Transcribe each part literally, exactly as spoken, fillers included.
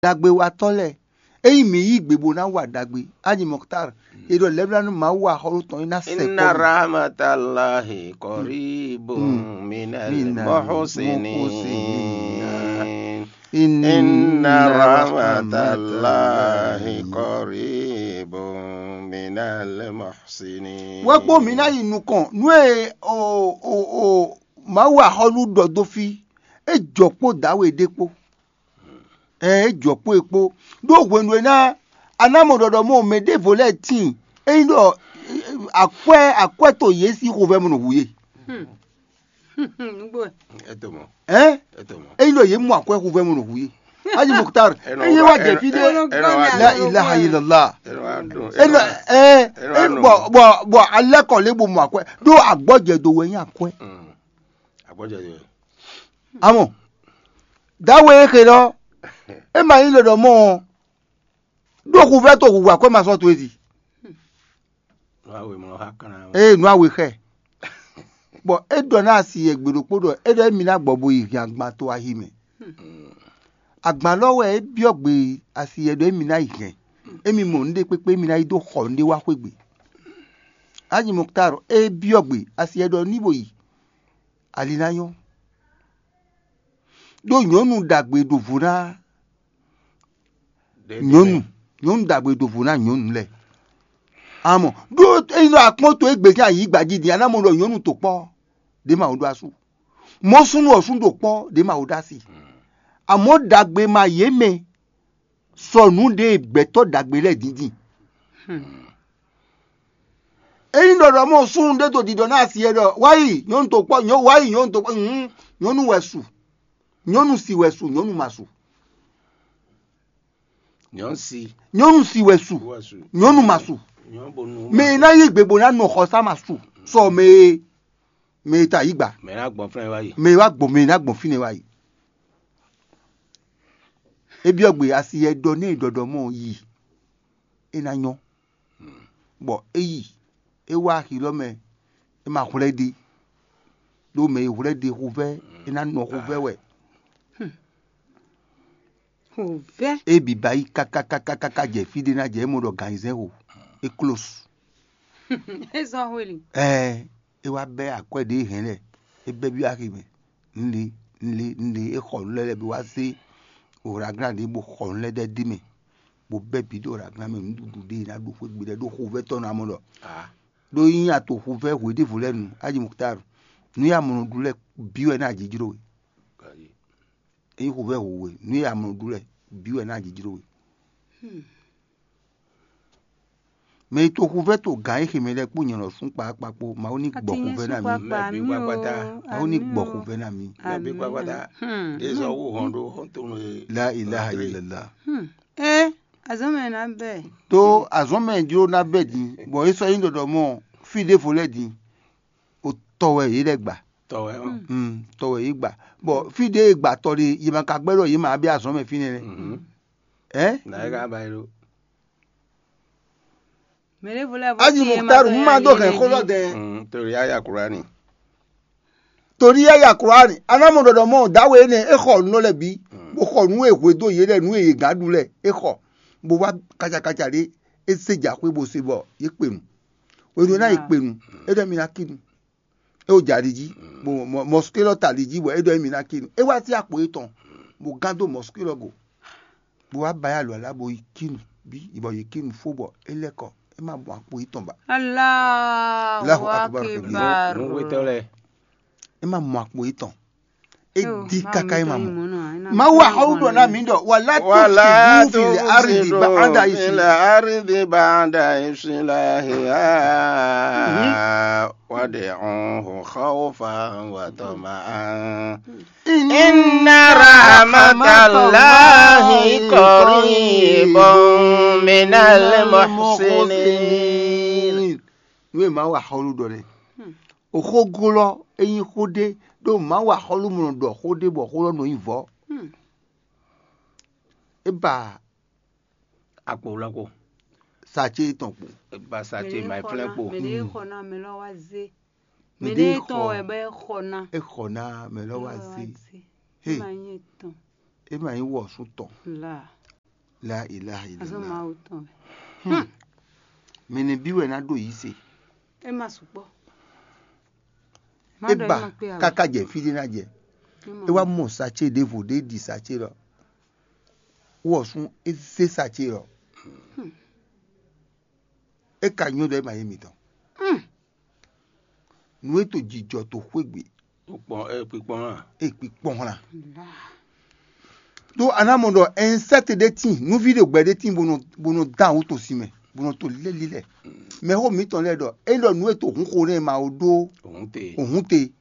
Ɖagbewatɔ́ lɛ́ɛ, ényí mǐ yí gbe bó ná wa ɖagbe, Aji Mɔktar, è ɖɔ lɛ́blánú Mawu axɔ́lú tɔn é ná sɛ إن kpɔ́ mì. رحمة الله قريب من من المحسنين. المحسنين. إن إن رحمة رحمة الله الله قريب من المحسنين. Wɛ kpó mǐ ná yi nukɔn nú e o o o Mawu axɔ́lú ɖɔ dó fí, é jɔ kpó dǎwe ɖé kpó. Ɛɛ, é jɔ kpó e kpó. Ɖó hwenu e ná a ná mɔ ɖɔɖɔ mɔ mɛ ɖěvo lɛ́ɛ tíin, ényí ɖɔ akwɛ́ akwɛ́ to yě sín xovɛ́ mɔ nɔ hu yě. Nugbo. Ɛ to mɔ. Ɛn? Ɛ to mɔ. Ényí ɖɔ yě mɔ akwɛ́ xovɛ́ mɔ nɔ hu yé. Aji Muktar, Ɛ nɔ ényí wá wá jɛ ɛ fí ɖé. Ɛ nɔ wá La dùn. Ilaha illallah. Ɛ nɔ wá dùn. Ɛ nɔ ɛ Ɛ nɔ wá ɛ nɔ. Bɔ bɔ bɔ alɛ kɔ lé bo mɔ akwɛ́. Ɖó agbɔjɛ do wɛ nyí akwɛ́. Mm. Agbɔjɛ do. Amɔ, dawe e xe lɔ, e ma nyí ɖɔɖɔ mɔ ɔ, ɖó xuvɛ́ to hu akwɛ́ ma sɔ́ to e zi. Nú awe mlɔ xá kan ná. Ee, nú awe xɛ. Bɔ é ɖɔ ná asi yɛ gbe ɖokpó ɖɔ é ɖɔ émí ná gbɔ bo yi hɛn agban to ahi mɛ. Agban lɔ wɛ é byɔ́ gbe asi yɛ ɖɔ émí ná yi hɛn. Émí mɔ nǔɖé kpékpé émí ná yi dó xɔ nǔɖé wá xwégbe. Aji Muktar é byɔ́ gbe asi yɛ ɖɔ ní bo yi. Ali ná nyɔ́. Ɖó nyɔ̌nu ɖagbe ɖo vo ná Ɖe nyɔ̌nu, nyɔ̌nu ɖagbe ɖo vo ná nyɔ̌nu lɛ́ɛ. Amɔ ɖó ényí ɖɔ akpɔ́n to égbé sín ayǐgba jí din, a ná mɔ ɖɔ nyɔ̌nu to kpɔ́ ɖě ma wo ɖó asú. Mɔ̌ súnnu ɔ́ súnnu ɖo kpɔ́ ɖě ma wo ɖó asi. Amɔ̌ ɖagbe ma yě mɛ sɔ nǔ ɖe gbɛ̌tɔ́ ɖagbe lɛ́ɛ dǐndín. Ényí ɖɔ ɖɔ mɔ súnnu ɖé to ɖiɖɔ ná asi e ɖɔ wá yi nyɔ̌nu to kpɔ́, nyɔ̌ wá yi nyɔ̌nu to kpɔ́, hǔn nyɔ̌nu wɛ su, nyɔ̌nu si wɛ su, nyɔ̌nu ma su. Nyɔ̌nu si Nyɔ̌nu si wɛ su, wɔ su. Nyɔ̌nu ma su. Nyɔ̌nu bo nu Mɛ e ná yí gbe bó ná nɔ xɔsá ma su. Sɔ mɛ e mɛ e ta yí gba. Mɛ ná gbɔn flɛ́n wá yi. Mɛ e wá gbɔn mɛ e ná gbɔn fínɛ́ wá yi. É byɔ́ gbe asi yɛ ɖɔ nɛ ɖɔɖɔ mɔ yi. É ná nyɔ́. Bɔ é yi, é wá axi lɔ mɛ, é ma hwlɛ́ ɖi. Ɖó mɛ e hwlɛ́ ɖi xuvɛ́, é ná nɔ xuvɛ́ wɛ. Xuvɛ́. É bǐ ba yi káká káká káká jɛ fí ɖé ná jɛ é mɔ ɖɔ gan ayizɛ́n xo. É klósu. É zɔ́n hweli. Ɛɛ, é wá bɛ́ akwɛ́ ɖě hɛn lɛ. É bɛ́ byɔ́ axi mɛ. Un le, un le, un le, é xɔ nǔ lɛ́ɛ lɛ́ɛ bó wá zé oraglán ɖě bó xɔ nǔ lɛ́ɛ ɖɛ́ d'é mɛ, bó bɛ́ bǐ ɖo oraglán mɛ nǔɖuɖu ɖé e ná ɖu xwé gbe lɛ́ɛ ɖó xovɛ́ tɔn ná mɔ ɖɔ. Ɖó nyí a to xovɛ́ hwe ɖěvo lɛ́ɛ nu, Aji Muktar, nǔ e a mɔ nɔ ɖu lɛ́ɛ bǐ wɛ ná jǐjló we. Ényí xovɛ́ hu we, nǔ e a mɔ nɔ ɖu lɛ́ɛ bǐ wɛ ná jǐjló we. Mɛ e to xuvɛ́ to gǎn e xe mɛ lɛ́ɛ kpó nyɛ lɔ sún kpakpa kpó, Mawu ní gbɔ xuvɛ́ ná mì. Mawu ní gbɔ xuvɛ́ ná mì. Mɛ bí kpakpata. Ezɔ wú hɔn ɖó xɔ́ntɔn e La ilaha illallah. Ɛ azɔn mɛ ná bɛ. Tó azɔn mɛ jló ná bɛ din, bɔ é sɔ́ nyí ɖɔɖɔ mɔ fí ɖěvo lɛ́ɛ din, o tɔ wɛ yě lɛ́ gba. Tɔ wɛ ɔ́. Mm, tɔ wɛ yě gba. Bɔ fí ɖě e gba tɔ ɖe, yě ma ka gbɛ́ ɖɔ yě ma bɛ azɔn mɛ fínɛ́ nɛ́. Ɛ? Nǎ é ka ba yi ɖó. Mɛ ɖěvo lɛ́ɛ bó Aji tíin é ma Muktaru, dó un ma yá dó yě hɛn lɛ́ɛ xó lɔ jí. Dɛn. Mm, torí yá ya Kurani. Torí yá ya Kurani, a ná mɔ ɖɔɖɔ mɔ dǎwe énɛ́, é xɔ nǔ lɛ́ɛ bǐ, bó xɔ nǔ e hwedó yě lɛ́ɛ, nǔ e yě gǎn ɖu lɛ́ɛ, é xɔ, bó wá kacakaca ɖé, é zé jǎ xwé bó se bɔ yě kpe nu. Hwenu e ná yě kpe nu, é ɖɔ mi ná kí nu. É wo jɛ ali jí, bɔ mɔ- mɔsukélɔ ta ali jí, bɔ é ɖɔ émí ná kí nu. É wá sí akpo étɔn, bó gán dó mɔsukélɔ go, bó wá ba yá alɔ alá, bó yi kí nu bí, bɔ yi kí nu fó, bɔ é lɛ́ kɔ, é má mɔ akpo étɔn ba. Allahu Allahu Akbar kabira. Akbar. Nǔwétɔ́ lɛ́ɛ. É má mɔ akpo étɔn. É Yo, di Mawu káká é má mɔ. Mawu axɔ́wúɖɔ ná mǐ ɖɔ, wala Wala tusidu fil ardi tusidu ba'da fil isla. Ardi ba'da islahiha. Wad'uhu khawfan wa tama'an. Inna rahmatallahi qaribun minal muhsinin. Nú e Mawu axɔ́wúɖɔ lɛ́ɛ. Oxógó lɔ, é nyí xó ɖé, ɖó Mawu axɔ́lú mɔ ɖɔ xó ɖé bɔ xó lɔ nɔ nyí vɔ̌. É ba Akpo wlá kpo. Sa ce tɔn kpo. É ba sa ce ma flɛ́ kpo. Mɛ ɖé xɔ ná mɛ lɔ wá zé. Mɛ Mɛ ɖé ɖé tɔn xɔ. Wɛ bɛ xɔ ná. É xɔ ná mɛ lɔ wá zé. Hé. Ma nyɛ tɔn. É ma nyí wɔ sú tɔn. La. La ilaha Azɔ illallah. Mawu tɔn wɛ. Mɛ nɛ bí wɛ ná ɖo yí se. É ma sukpɔ́. É ba káká jɛ fí ɖé ná jɛ. É wá mɔ sacé ɖěvo ɖé ɖi sacé lɔ. Wɔ sún é zé sacé lɔ. É ka nyɔ ɖɔ é ma yé mitɔn. Nǔ e to jijɔ to xwé gbe Kpikpɔn ɛ kpikpɔn hã. é kpikpɔn hlan. Ɖó a ná mɔ ɖɔ ɛnsɛ́ti ɖé tíin, nǔví ɖo gbɛ ɖé tíin bó nɔ bó nɔ dán awú to sin mɛ, bó nɔ to lɛ́ lílɛ́. Mɛxó mǐtɔn lɛ́ɛ ɖɔ é ɖɔ nǔ e to hun xo nɛ́ ma ó ɖó Òun te. òhun te,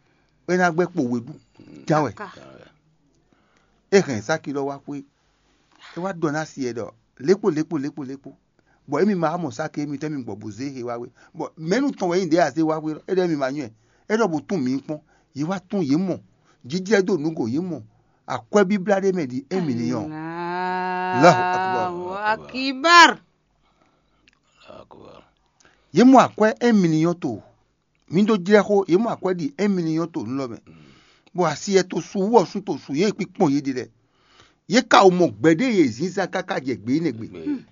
é ná gbɛ́ kpo we ɖu ján wɛ. É hɛn sáki ɖɔ wá xwé, é wá ɖɔ ná si ɛ ɖɔ lékpo lékpo lékpo lékpo, bɔ émi ma wá mɔ sáki émitɔn émi gbɔ bó zé he wá wé, bɔ mɛ̌nu tɔn wɛ nyí ɖě azé wá xwé é ɖɔ émi ma nyɔ́ ɛ, é ɖɔ bó tún mǐ kpɔ́n, yě wá tún yě mɔ, jijlɛ́ dó nǔgo yě mɔ, akwɛ́ bíblá ɖé mɛ ɖi émi ní nyɔ́. Allahu akbar. Allahu akbar. Akbar. Yě mɔ akwɛ́ émi ní nyɔ́ to, mǐ ɖó jlɛ́ xó, yě mɔ akwɛ́ ɖi émi ní nyɔ́ to nú lɔ mɛ, bɔ asi ɛ to su wú ɔ́ sú to su yě kpíkpɔ́n yě ɖi lɛ. Yě ka wo mɔ gbɛ̌ɖé yě zínzán káká jɛ gbě énɛ́ gbe.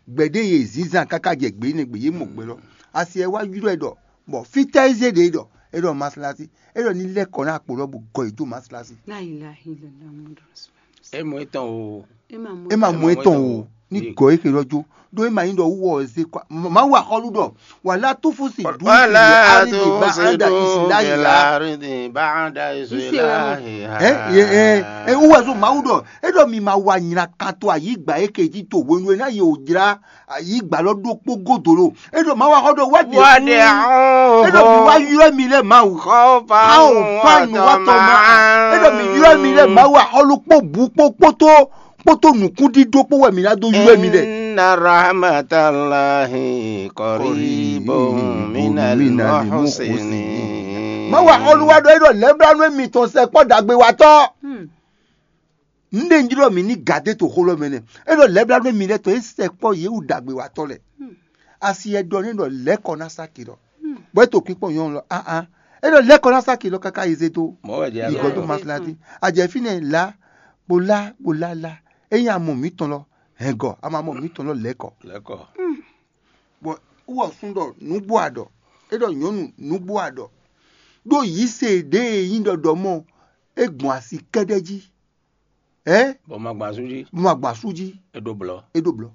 Gbɛ̌ɖé yě zínzán káká jɛ gbě énɛ́ gbe, yě mɔ gbɛ lɔ. Asi ɛ wá ylɔ́ ɛ ɖɔ, bɔ fítɛ́ é zé ɖě ɖɔ é ɖɔ maslasi, é ɖɔ ní lɛ́ kɔ ná akpo lɔ bó gɔ yě dó maslasi. La ilaha illallah Muhammadu Rasulullah. É mɔ étɔn o. É ma mɔ. É ma mɔ étɔn o, ní gɔ é xelɔ́ jó. Ɖó é ma nyí ɖɔ wú wɔ ɔ́ zé kɔ. Mawu axɔ́lú ɖɔ, wà lá tó fó si dú Wala tó fó si dú fil ardi ba'da islahiha. Ɛ yɛ ɛ ɛ wú wɛ zó Mawu ɖɔ, é ɖɔ mi ma wa nyla kan to ayǐgba é ke jí to hwenu e ná yě wò jlá ayǐgba lɔ ɖokpó godo lo. É ɖɔ Mawu axɔ́ ɖɔ wá ɖe é ɖɔ mi wá ylɔ́ mi lɛ Mawu. Khawfan Awo fa nu wa tɔ ma. É ɖɔ mi ylɔ́ mi lɛ Mawu axɔ́lú kpó bǔ kpó kpótó kpótó nǔkúndídó kpó wɛ mi ná dó ylɔ́ mi lɛ. Inna rahmatallahi qaribun minal muhsinin. Mawu axɔ́lú wa ɖɔ é ɖɔ lɛ̌blánú émitɔn sɛkpɔ́ ɖagbe watɔ́. Nɖé ń jlɔ́ mǐ ní gǎdé to xó lɔ mɛ nɛ́. É ɖɔ lɛ̌blánú émi lɛ́ɛ tɔn é sɛkpɔ́ yě wú ɖagbe watɔ́ lɛ́ɛ. Asi ɛ ɖɔ n'i ɖɔ lɛ̌ kɔ ná sáki lɔ. Bɔ é to kpíkpɔ́n nyɔ̌nu lɔ áhán. É ɖɔ lɛ̌ kɔ ná sáki lɔ káká yi zé dó. Mɔ̌ wɛ jɛ Yi gɔ̌ dó maslati. A jɛ fínɛ́ lá bó lá bó lá lá. É nyí amɔ mǐtɔn lɔ. Hɛngɔ a ma mɔ mǐtɔn lɔ lɛ̌ kɔ. Lɛkɔ. Bɔ wɔ sún ɖɔ nǔgbó aɖɔ. É ɖɔ nyɔ̌nu nǔgbó aɖɔ. Ɖó yǐ se ɖě e nyí ɖɔɖɔ mɔ é gbɔn asi kɛ́ɖɛ́ jí. Ɛ Bɔ ma gbɔn asú jí. Bó ma gbɔn asú jí. É ɖó blɔ. É ɖó blɔ.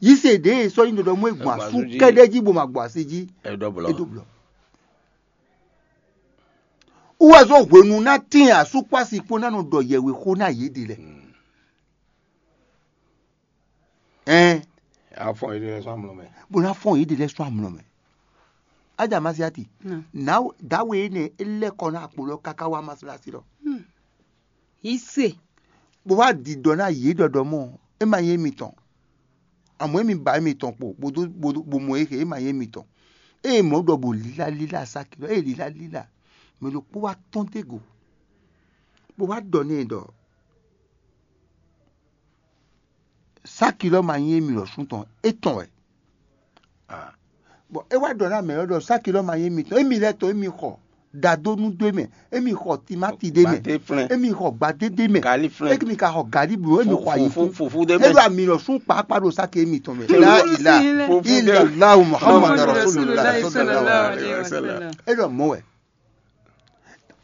Yí se ɖě e sɔ́ nyí ɖɔɖɔ mɔ é gbɔn asú kɛ́ɖɛ́ jí bó ma gbɔn asi jí. É ɖó blɔ. É ɖó blɔ. Wúwɛzɔ́ hwenu ná tín asú kpó asi kpó ná nɔ ɖɔ yɛwexó ná yě ɖe lɛ. Ɛn Afɔ yi ɖe sɔn amlɔ mɛ. Bó ná fɔn yě ɖe lɛ sɔ́ amlɔ mɛ. Ájà Masiati. Nà. Nà dáwé énɛ́ é lɛ́ kɔ ná akpo lɔ káká wá Masalasi lɔ. Yí se. Bó wá ɖiɖɔ ná yě ɖɔɖɔ mɔ é ma nyí émitɔn. Àmọ́ émi ba émitɔn kpo bó dó bó dó- bó mɔ é xe é ma nyí émitɔn. Eye mɔ̌ ɖɔ bó lílá lílá sáki lɔ eye lílá lílá mɛ ɖokpó wá tɔ́n dó go. Bó wá ɖɔ n'i ɖɔ sáki lɔ ma nyí émi lɔ sún tɔn étɔn wɛ. Bɔn é wá ɖɔ ná mɛ lɔ ɖɔ sáki lɔ ma nyí émi tɔn émi lɛ tɔn émi xɔ dadonu dó mɛ émi xɔ timati dé mɛ Gbadé flɛn. Émi xɔ gbadé dé mɛ Gali flɛn. Émi ka xɔ gali blo émi xɔ ayi Fufu fufu dé Émi mɛ. Ami lɔ sún kpakpa ɖo sáki émi tɔn mɛ. Télé La wɔ- ila Télé. ila lahu Muhammad Muhammad Rasulullah Rasulullah sallallahu sallallahu alaihi alaihi wasallam. wasallam. É ɖɔ mɔ wɛ.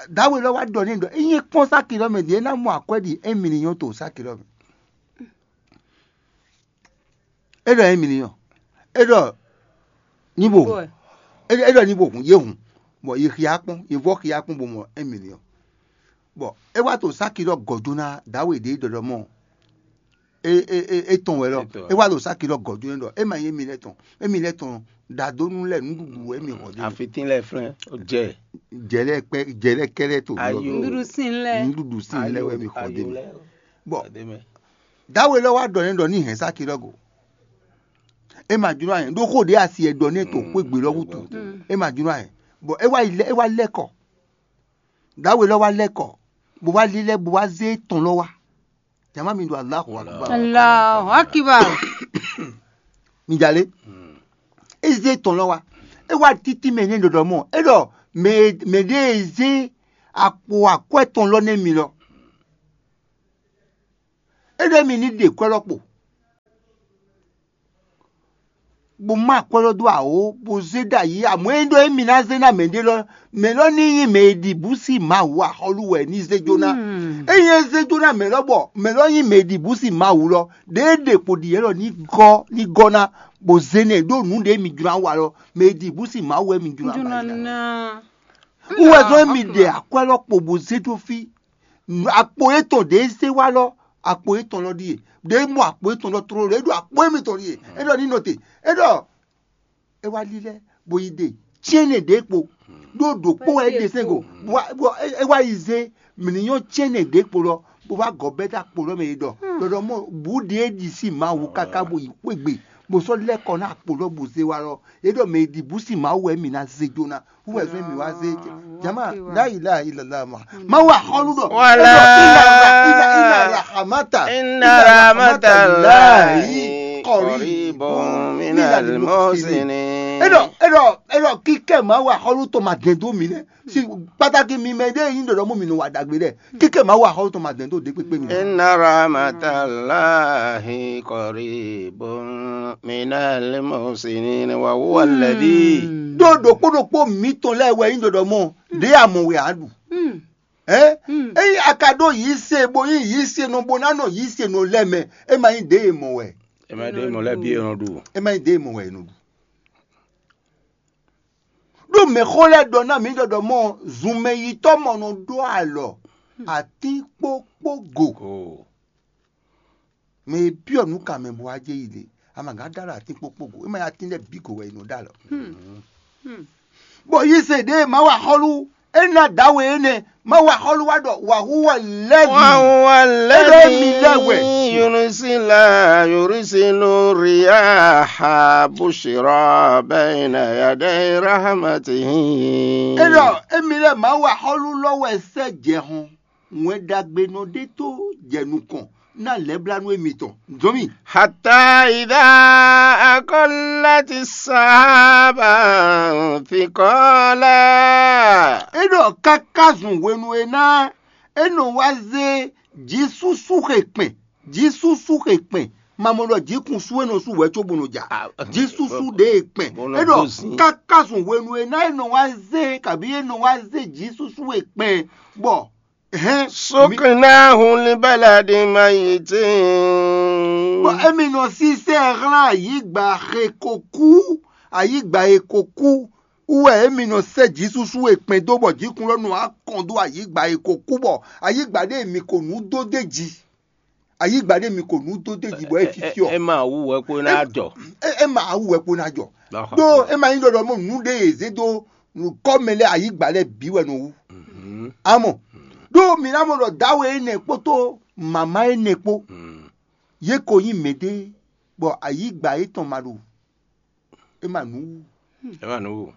Dawe lɔ wá ɖɔ n'i ɖɔ enyi kpɔ́n sáki lɔ mɛ ɖi é ná mɔ akwɛ ɖi émi ni nyɔ to sáki lɔ mɛ. É ɖɔ émi ni nyɔ. É ɖɔ ní bo. Bɔɛ. É é ɖɔ ní bo hun yé hun. Bɔ yé xia kpɔn yé vɔ xia kpɔn bo mɔ émi ni nyɔ. Bɔ é wá to sáki lɔ gɔjo ná dawe ɖe ɖɔɖɔ mɔ. É é é é tɔn wɛ lɔ. Étɔn. É wá to sáki lɔ gɔjo ná ɖɔ é ma nyí émi lɛ tɔn. Émi lɛ tɔn ɖadonu lɛ nuɖuɖu émi xɔ dé. Afitín lɛ flɛn. Ó jɛ. Jɛlɛ kpɛ jɛlɛ kɛlɛ to. Ayo. Nuɖuɖu sin lɛ. Nuɖuɖu sin lɛ wɛ mi xɔ dé. Ayo lɛ. Bɔ Dé mɛ. Dawe lɔ wá ɖɔ n'i ɖɔ ní hɛn sáki lɔ go. É ma jló ayɛ ɖó xó ɖé asi ɛ ɖɔ ní to xwé gbe lɔ wútu. É ma jló ayɛ. Bɔ é wá yi lɛ é wá lɛ kɔ. Dawe lɔ wá lɛ kɔ. Bó wá lílɛ bó wá zé tɔn lɔ wá. Jama mi ɖo Allahu Akbar. Allahu akbar. Mi jalè. É zé tɔn lɔ wá. É wá títí mɛ ní ɖɔɖɔ mɔ. É ɖɔ mɛ mɛ ɖé zé akpo akwɛ tɔn lɔ nɛ mi lɔ. É ɖɔ mi ní ɖe kwɛ lɔ kpo. bó má akwɛ́ lɔ dó awǒ, bó zé ɖ'ayǐ, amɔ̌ é ɖɔ émí ná zé ná mɛ ɖé lɔ, mɛ lɔ ní nyí mɛ e ɖi bǔ sín Mawu axɔ́lú wɛ ní zé jó ná. Ényí é zé jó ná mɛ lɔ bɔ mɛ lɔ nyí mɛ e ɖi bǔ sín Mawu lɔ, ɖěe ɖe kpo ɖi yě lɔ ní gɔ́ ní gɔ́ ná, bó zé nɛ ɖó nǔ ɖě mi jló ná wa lɔ, mɛ e ɖi bǔ sín Mawu wɛ mi jló ná wa é ná. Wú wɛ zɔ́n émi ɖe akwɛ́ lɔ kpo bó zé dó fí. Akpo étɔn ɖě zé wá lɔ, akpo étɔn lɔ ɖíe. Ɖě mɔ akpo étɔn lɔ tlóló, é ɖo akpo émítɔn ɖíe. É ɖɔ ní nɔ te. É ɖɔ é wá lílɛ́, bó yi ɖe cyɛ́nnɛ ɖě kpo, ɖó ɖǒkpó wɛ é ɖe sɛ́n go, bó wá- bó- é- é wá yi zé mǐ ní nyɔ́ cyɛ́nnɛ ɖě kpo lɔ, bó wá gɔ̌ bɛ́ dó akpo lɔ mɛ yi ɖɔ ɖɔɖɔ mɔ bǔ ɖě é ɖi sín Mawu káká bó yi xwé gbe, bó sɔ́ lɛ́ kɔ ná akpo lɔ bó zé wá lɔ, é ɖɔ mɛ e ɖi bǔ sín Mawu wɛ mǐ ná zé jó ná. Wú wɛ zɔ́n mì wá zé jama la ilaha illallah ma. Mawu axɔlu ɖɔ. Wala. Inna rahmata. Inna rahmatallahi qaribun minal muhsinin. Eɖɔ eɖɔ eɖɔ kíkɛ Mawu axɔlu tɔn ma dɛn dó mi nɛ. Si pàtàkì mi mɛ ɖe yin ɖɔɖɔ mú mi nɔ wa ɖagbe ɖɛ. Kíkɛ Mawu axɔlu tɔn ma dɛn dó ɖe kpekpe mi. Inna rahmatallahi qaribun minal muhsinin wa huwa alladhi. Ɖó ɖokpó ɖokpó mǐtɔn lɛ́ɛ wɛ nyí ɖɔɖɔ mɔ ɖě a mɔ wɛ a ɖu. Ɛ ényí a ka ɖó yǐ se bó nyí yǐ se nɔ bó ná nɔ yǐ se nɔ lɛ́ mɛ, é ma nyí ɖě e mɔ wɛ. É ma ɖě mɔ lɛ́ bǐ e nɔ ɖu. É ma nyí ɖě e mɔ wɛ è nɔ ɖu. Ɖó mɛxó lɛ́ɛ ɖɔ ná mǐ ɖɔɖɔ mɔ zunmɛyitɔ́ mɔ nɔ ɖó alɔ atín kpó kpó go. Mɛ e byɔ́ nǔ kan mɛ bó wá jɛ yi ɖe, a ma gǎn ɖó alɔ atín kpó kpó go, é ma nyí atín lɛ́ɛ bǐ go wɛ è nɔ ɖó alɔ. Bɔ yí se ɖěe Mawu axɔ́lú é ná dǎwe énɛ́, Mawu axɔ́lú wá ɖɔ wǎhúwa lɛ́ɛ Wa huwa é ɖɔ émi lɛ́ wɛ. Yursilu yursilu riyaha bushra bayna yaday rahmatihi. É ɖɔ émi lɛ́ Mawu axɔ́lú lɔ wɛ sɛ́ jɛ hɔn wɛn ɖagbenɔ ɖé tó jɛ nukɔn ná lɛ̌blánú émitɔn. Zɔ́n mì. Hatta idha aqallat sahaba thiqala. É ɖɔ káká zun hwenu e ná é nɔ wá zé jǐsúsú xe kpɛn, jǐsúsú xe kpɛn, ma mɔ ɖɔ jǐkun sú é nɔ sú wɛ cóbó nɔ ja. Jǐsúsú ɖe e kpɛn. É ɖɔ káká zun hwenu e ná é nɔ wá zé kabí é nɔ wá zé jǐsúsú e kpɛn bɔ Suknahu li baladin mayitin. Bɔ émi nɔ sísɛ hlán ayǐgba xe ko kú, ayǐgba e ko kú wú wɛ émi nɔ sɛ́ jǐsúsú e kpɛn dó bɔ jǐkun lɔ nɔ wá kɔn dó ayǐgba e ko kú bɔ ayǐgba ɖé mi ko nǔ dó d'é jí. Ayǐgba ɖé mi ko nǔ dó d'é jí bɔ é fyɔ́fyɔ́. É ma wú wɛ kpó ná jɔ. É ma wú wɛ kpó ná jɔ. Ɖó é ma nyí ɖɔɖɔ mɔ nǔ ɖé e zé dó nukɔ́mɛ lɛ́ɛ ayǐgba lɛ́ɛ bǐ wɛ nɔ wú. Amɔ ɖó mǐ ná mɔ ɖɔ dǎwe énɛ́ kpódó mama énɛ́ kpó, yě ko nyí mɛɖé bɔ ayǐgba yětɔn ma ɖo é ma nǔ wú. É ma nǔ wú.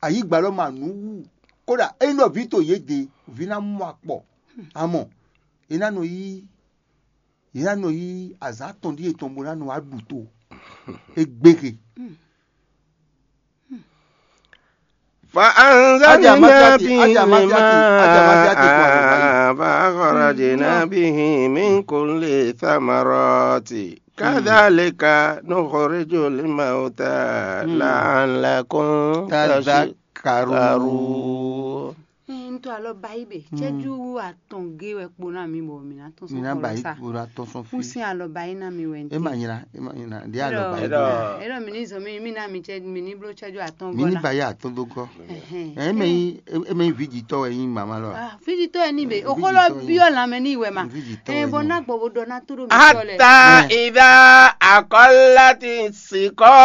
Ayǐgba lɔ ma nǔ wú. Kódà ényí ɖɔ vǐ to yě ɖe, vǐ ná mɔ akpɔ. Amɔ yě ná nɔ yí yě ná nɔ yí azǎn atɔn ɖíe tɔn bó ná nɔ wá ɖu to. É gbéhe. Fa anzalna bihi lma fa akhrajna bihi min kulli thamarati kadhalika nukhrijul mauta la'allakum tadhakkarun. N to alɔ ba yi be cɛju atɔn ge wɛ kpo na mi bɔ mi na tɔn sɔn kɔlɔ sa. Kpo na tɔn sɔn fi. N sin alɔ ba yi na mi wɛ n te. E ma nyina, e ma nyina. Di alɔ ba yi. Eɖɔ mi ni zɔn mi mi na mi cɛ mi ni blo cɛju atɔn gɔ na. Mi ni ba yi atɔn do gɔ. Ɛ mɛ yi e mɛ yi vijitɔ wɛ yin mama lɔ. Vijitɔ yɛ ni be o kɔlɔ biɔ lamɛ ni wɛ ma. Vijitɔ wɛ ni. Bɔ na gbɔ bo dɔ na to do mi tɔ lɛ. Hatta idha aqallati siqa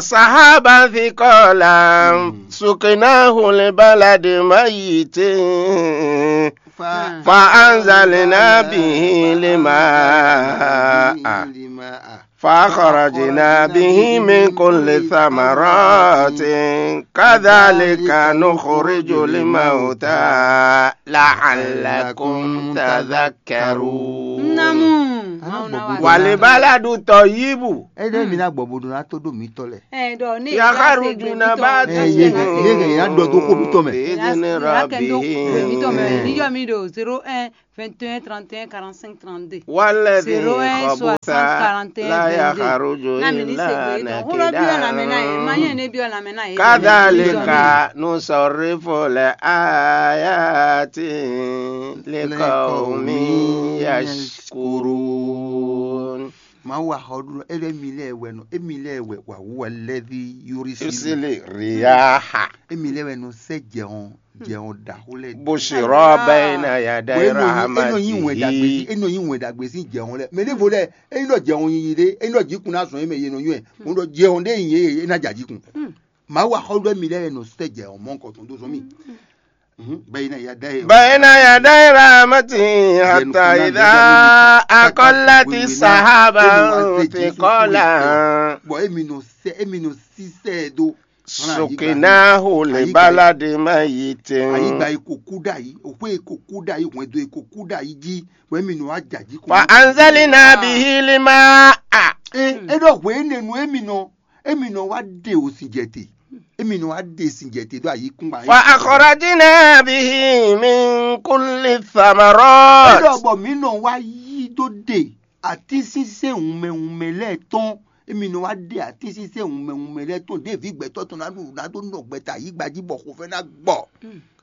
sahaban thiqala suknahu li baladin mayyitin fa anzalna bihi lma'a fa akhrajna bihi min kulli thamaratin kadhalika nukhrijul mauta la'allakum tadhakkarun. Namu. Wal baladu tayyibu. E ɖe mi na gbɔ bo do na to do mi tɔ lɛ. Ɛ dɔ ne. Yakharuju nabatu. Ɛ ye ye ye ya dɔ do ko mi tɔ mɛ. Bi idhni rabbihi. Mi tɔ mɛ ni yɔ mi do zéro un. vingt et un, trente et un, quarante-cinq, trente-deux. والذي خبث لا يخرج إلا نكدا. كذلك نصرف الآيات لقوم يشكرون. Mawu wa xɔ ɖu nɔ, é ɖɔ émí lɛ́ɛ wɛ nɔ, émí lɛ́ɛ wɛ wǎ wú wɛ lɛ́ví yúrí sílí. Sílí riyaha. Émí lɛ́ɛ wɛ nɔ sɛ́ jɛ hɔn, jɛ hɔn ɖaxó lɛ́ɛ. Bushra bayna yaday rahmatihi. É nɔ nyí wɛn ɖagbe sín, é nɔ nyí wɛn ɖagbe sín jɛ hɔn lɛ́ɛ. Mɛ ɖěvo lɛ́ɛ, é nyí ɖɔ jɛ hɔn yiyi ɖé, é nyí ɖɔ jǐkun ná zɔn yé mɛ yé nɔ nywɛ́. Mo ɖɔ jɛ hɔn ɖé nyi yé, é ná ja jǐkun. Mawu wa xɔ ɖɔ émí lɛ́ɛ wɛ nɔ sɛ́ jɛ hɔn mɔ̌hunkɔtɔn dó zɔn mì. Mhm. Bayna yaday. بين يدي رحمته حتى إذا أقلت سحابا ثقالا. Bɔ émi nɔ sɛ, émi nɔ sísɛ dó. سقناه لبلد ميت. Ayigba yi ko kú ɖ'ayǐ, òxwé yi ko kú ɖ'ayǐ, hwɛndo yi ko kú ɖ'ayǐ jí, bɔ émi nɔ wá jɛ ajǐ kɔn. فأنزلنا به الماء. Ɛ, é ɖɔ hwě énɛ́ nu émi nɔ, émi nɔ wá ɖe òsìnjɛte, émi nɔ wá ɖe sìnjɛte ɖó ayǐkúngban. فأخرجنا به من كل الثمرات. É ɖɔ bɔ mǐ nɔ wá yí dó ɖe atínsínsɛ́n wunmɛ wunmɛ lɛ́ɛ tɔn. Émi nɔ wá ɖe atínsínsɛ́n wunmɛ wunmɛ lɛ́ɛ tɔn ɖěví gbɛtɔ́ tɔn ná ɖu ná dó nɔ gbɛta yǐgba jí bɔ xofɛ́ ná gbɔ.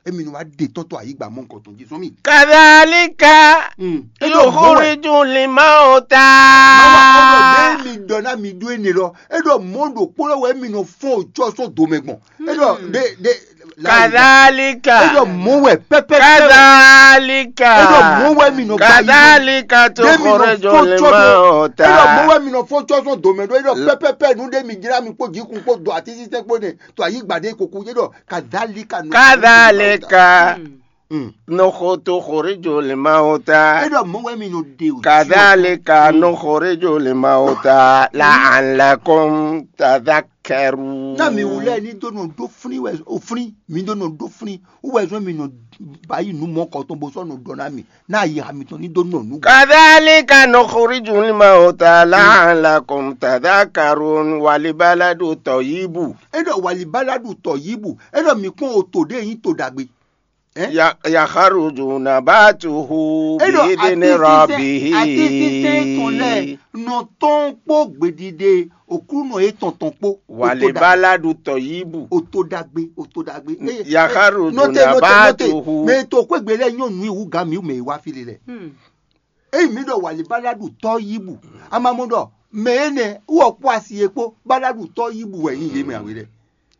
Émi nɔ wá ɖe tɔ́n tɔn ayǐgba mɔ̌hunkɔtɔn jí sɔ́ mì. كذلك Mm. É ɖɔ mɔ̌ wɛ. يخرج الموتى. Mawu wa xɔ ɖɔ ɖěe mi ɖɔ ná mi ɖó énɛ́ lɔ, é ɖɔ mɔ̌ ɖokpó lɔ wɛ émi nɔ fɔ́n òcɔ́ sɔ́ do mɛ gbɔn. É ɖɔ ɖe ɖe كذلك. É ɖɔ mɔ̌ wɛ pɛpɛpɛ. كذلك. É ɖɔ mɔ̌ wɛ mi nɔ ba yi. كذلك Ɖe mi nɔ تخرج fɔ́n cɔ́ do. الموتى. É ɖɔ mɔ̌ wɛ mi nɔ fɔ́n cɔ́ sɔ́ do mɛ ɖó. É ɖɔ pɛpɛpɛ nu ɖé mi jlá mi kpó jǐkun kpó do atínsínsɛ́n kpó nɛ to ayǐgba ɖé koko. É ɖɔ كذلك نخرج كذلك الموتى. Mm. نخ-، تخرج الموتى. É ɖɔ mɔ̌ wɛ mi nɔ ɖe o. كذلك نخرج الموتى لعلكم تذكرون. Ná mi wú lɛ́ɛ ní dó nɔ ɖó flín wɛ, o flín, mi dó nɔ ɖó flín, wú wɛ zɔ́n mi nɔ ba yi nǔ mɔ̌kɔtɔn bó sɔ́ nɔ ɖɔ ná mi, ná ayixa mitɔn ní dó nɔ nǔ. كذلك نخرج الموتى لعلكم تذكرون. والبلد الطيب. É ɖɔ walibaladu tɔ yíbu, é ɖɔ mi kpɔ́n o to ɖé nyí to ɖagbe. Ɛ? يخرج نباته بإذن ربه. É ɖɔ atínsínsɛ́n tɔn lɛ́ɛ nɔ tɔn kpó gbeɖiɖe Oklúnɔ yětɔn tɔn kpó. Walibaladu tɔyibu. O to ɖagbe, o to ɖagbe. Eye, Yakharuju nɔte, nɔte, nɔte. Nabatuhu. Mɛ e to xwégbe lɛ́ɛ nyɔ́ nǔ i wú gǎn mǐ mɛ e wá fí lé lɛ́ɛ. Hmm. Eyi mǐ ɖɔ walibaladu tɔyibu. Amamɔ ɖɔ mɛ énɛ́ wɔ kpó asi e kpó baladu tɔyibu wɛ nyí yě mɛ awe lɛ́ɛ.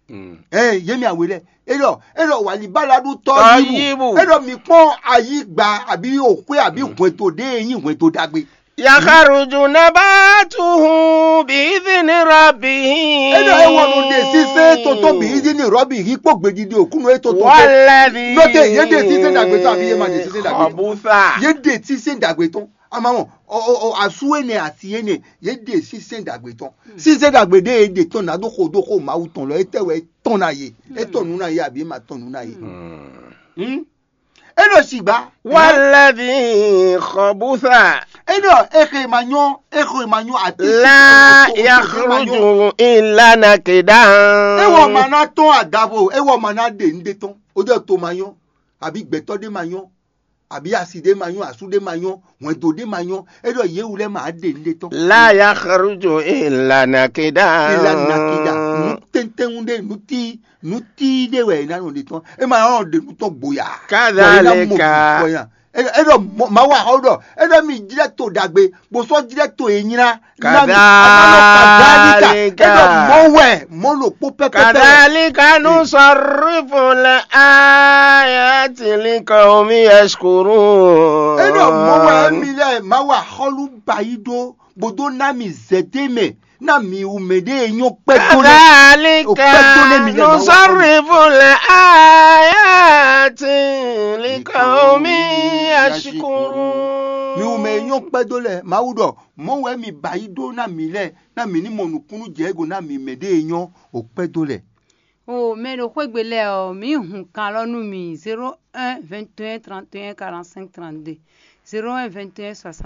Mm. Ɛ yě mɛ awe lɛ́ɛ. E ɖɔ, e ɖɔ walibaladu tɔyibu. Tɔyibu. E ɖɔ mi kpɔ́n ayigba àbí òxwé àbí hwɛndo ɖé e nyí hwɛndo ɖagbe. Yakharuju nabatuhu bi idhini rabbihi. E ɖɔ e wɔ nɔ ɖe sísɛ tɔntɔn bi idhini rabbihi kpó gbeɖiɖe Oklúnɔ e tɔntɔn. Walladhi. Nɔte, yě ɖe sísɛ ɖagbe tɔn àbí yě ma ɖe sísɛ ɖagbe tɔn? Khabusa. Yě ɖe sísɛ ɖagbe tɔn. Amamɔ, ɔ, ɔ, ɔ, asu énɛ́, asi énɛ́, yě ɖe sísɛ ɖagbe tɔn. Sísɛ ɖagbe ɖé e ɖe tɔn ná ɖó xo ɖó xo Mawu tɔn lɔ, étɛ́ wɛ é tɔn ná yě? É tɔn nǔ ná yě àbí é ma tɔn nǔ ná yě? Hmm? É ɖo sigba. Walladhi khabusa. É ɖɔ é xe ma nyɔ́, é xe ma nyɔ́ àti la yakhruju illa nakidan. É wɔ ma ná tɔn adavo, é wɔ ma ná ɖe nǔɖé tɔn. Ó jẹ́ to ma nyɔ́, àbí gbɛtɔ́ ɖé ma nyɔ́, àbí asi ɖé ma nyɔ́, asú ɖé ma nyɔ́, hwɛndo ɖé ma nyɔ́, é ɖɔ yě wú lɛ́ɛ ma ɖe nǔɖé tɔn. La yakhruju illa nakida. Illa nakida. Nǔ tɛntɛn ɖé, nǔ tí, nǔ tí ɖé wɛ è ná nɔ ɖe tɔn. É ma nɔ ɖe nǔ tɔn gboya. Kadhalika. Bɔ é ná mɔ bɔ nya. É é ɖɔ mɔ- Mawu axɔ ɖɔ é ɖɔ mi jlɛ́ to ɖagbe, bó sɔ́ jlɛ́ to e nylá. Kadhalika. Kadhalika. É ɖɔ mɔ wɛ, mɔ ɖokpó pɛpɛpɛ. Kadhalika nusarrifu l-ayati liqawmi yashkurun. É ɖɔ mɔ wɛ mi lɛ Mawu axɔlu ba yi ɖó, bó dó ná mi zɛdé mɛ, ná mi wú mɛ ɖé e nyɔ́ kpɛ́ tó lé. Kadhalika nusarrifu l-ayati liqawmi yashkurun. Mi wú mɛ e nyɔ́ kpɛ́ dó lɛ, Mawu ɖɔ mɔ̌ wɛ mi ba yi ɖó ná mi lɛ́ɛ, ná mi ní mɔ nǔkúnnú jɛ égó ná mi mɛ ɖé e nyɔ́ o kpɛ́ dó lɛ. O mɛ ɖo xwégbe lɛ́ɛ ɔ́, mǐ hun kan lɔ nú mi: zéro un vingt et un trente et un quarante-cinq trente-deux, zéro un vingt et un soixante.